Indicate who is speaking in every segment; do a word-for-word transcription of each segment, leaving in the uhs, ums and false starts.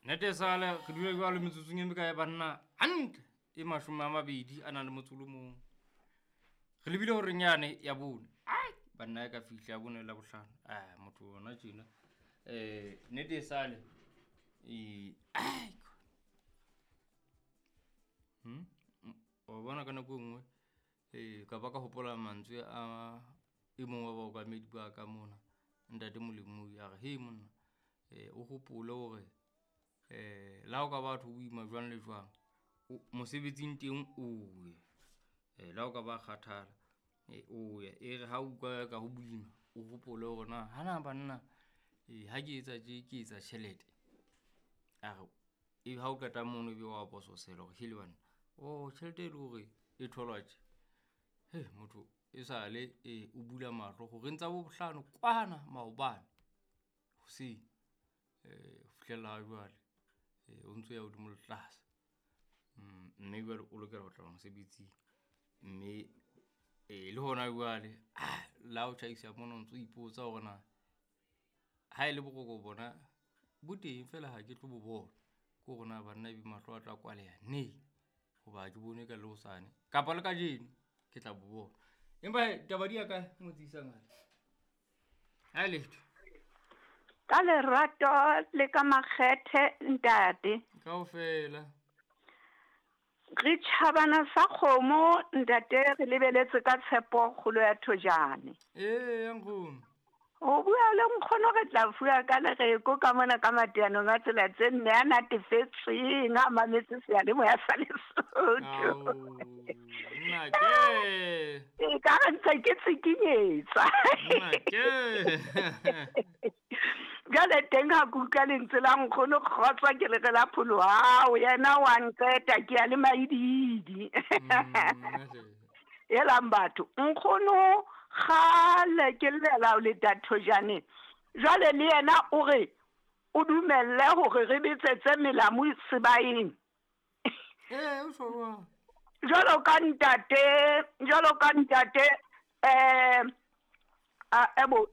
Speaker 1: Nete sale re dule jwalo metsotsong e mekae banna hantle e mashome a mabedi a nang le motso o le mong. Re lebile horeng yane ya bone. Ai banna e ka fihla ya bone la bohlano. Ah motho ona tjena. Eh nete sale e ai Hmm o bona ka nako e nngwe eh ka ba ka hopola mantswe a e mong wa baokamedi ba ka mona ntate Molemo a re he monna eh o hopole hore eh la o ka batho boima jwang le jwang mosebetsing teng o ye eh la o ka ba kgathala eh o ye e re ha o utlwa ka ho boima o hopole hore na hana banna eh ha ke etsa tje ke etsa tjhelete a re e ha o qeta mono ebe wa bososela hore hele banna o tjhelete e le hore e tholwa tje he motho e sale e o bula mahlo horeng tsa bo bohlano kwana maobane hoseng eh ho fihlella jwale eh o ntso ya hodimo le tlase mme jwale o lokela ho tla mosebetsing mme eh le hona jwale la o tjhaisa mona o ntso ipotsa hore na ha e le boroko bona bo teng fela ha ke tlo bo bona ke hore na banna ebe mahlo a tla kwaleha neng hoba ke bone ka le hosane kapa le kajeno ke tla bo bona. Empa taba di ya kae motsisa ngale ha letho
Speaker 2: ka lerato le ka makgethe ntate
Speaker 1: kaofela
Speaker 2: re tjhabana sa kgomo ntate re lebeletse ka tshepo kgolo ya Thojane.
Speaker 1: Ee nkgono
Speaker 2: o bua le nkgono re tla fuwa ka lereko ka mona ka mateanong a tsela tse nne a natefetseng a mametse seyalemoya sa Lesotho.
Speaker 1: Nna ke
Speaker 2: e ka re ntse ke tsikinyetsa
Speaker 1: nna ke
Speaker 2: jwale teng ha ke utlwa lentswe la nkgono kgotsa ke lere la pholo hao yena wa nqeta ke ya le maididi. Elang batho nkgono kgale ke llela o le Thojane jwale le yena o re o dumelle hore re betsetse melamu sebaeng.
Speaker 1: Eh o tjho
Speaker 2: jwalo ka ntate jwalo ka ntate eh a ebo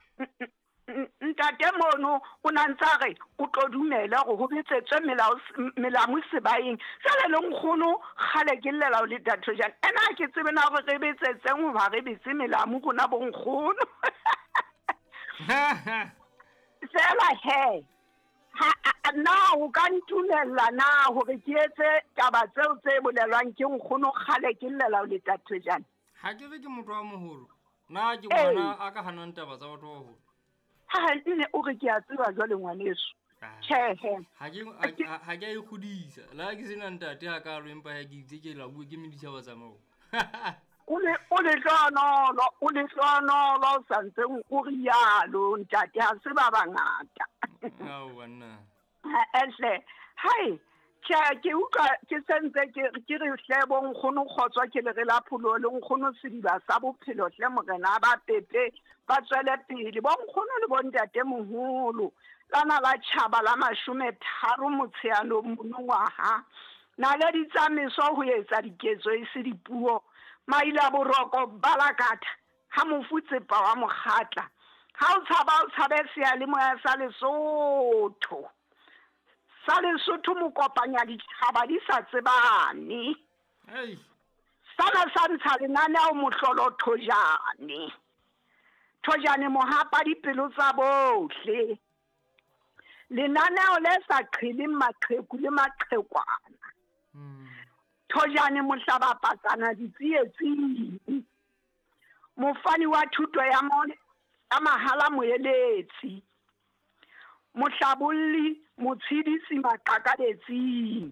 Speaker 2: ntate mono o na ntsa re o tlo dumela hore ho betsetswe melao melamu sebaeng jwale le nkgono kgale ke llela o le Thojane ena ke tsebe na hore re betsetseng hoba re betse melamu rona bo nkgono. Fela he ha na o ka ntumella na hore ke etse taba tseo tse bolelwang ke nkgono kgale ke llela o le Thojane?
Speaker 1: Ha ke re ke motho wa moholo na ke ngwana a ka hanang taba tsa batho ba baholo.
Speaker 2: Ha nne o re ke a tseba jwale ngwaneso. Tjhe he
Speaker 1: ha ke ha ke a ikgodisa la ke sena ntate ha ka lo empa ha ke itse ke la bua ke meditjhaba tsa moo.
Speaker 2: O le o le hlonolo o le hlonolo sa ntseng o rialo ntate ha se ba bangata.
Speaker 1: Ao banna.
Speaker 2: Ehle hai tjhe ke utlwa ke sentse ke ke re hle bo nkgono kgotswa ke le re la pholo le nkgono sediba sa bophelo hle morena ba pepe ba tswele pele bo nkgono le bo ntate moholo lana la tjhaba la mashome tharo motsheanong monongwaha naledi tsa meso ho etsa diketso e se dipuo maila boroko balakatha ha mofutsepa wa mokgatla ha o tshaba o tshabe seyalemoya sa Lesotho sa Lesotho mokopanya ditjhaba di sa tsebane.
Speaker 1: Ei
Speaker 2: sana sa ntsha lenaneo mohlolo Thojane Thojane mohapa dipelo tsa bohle lenaneo le sa qheleng maqheku le maqhekwana. Thojane mohlaba patsana ditsietsing mofani wa thuto ya mone ya mahala moeletsi mohlabolli motshedisi maqakabetsing.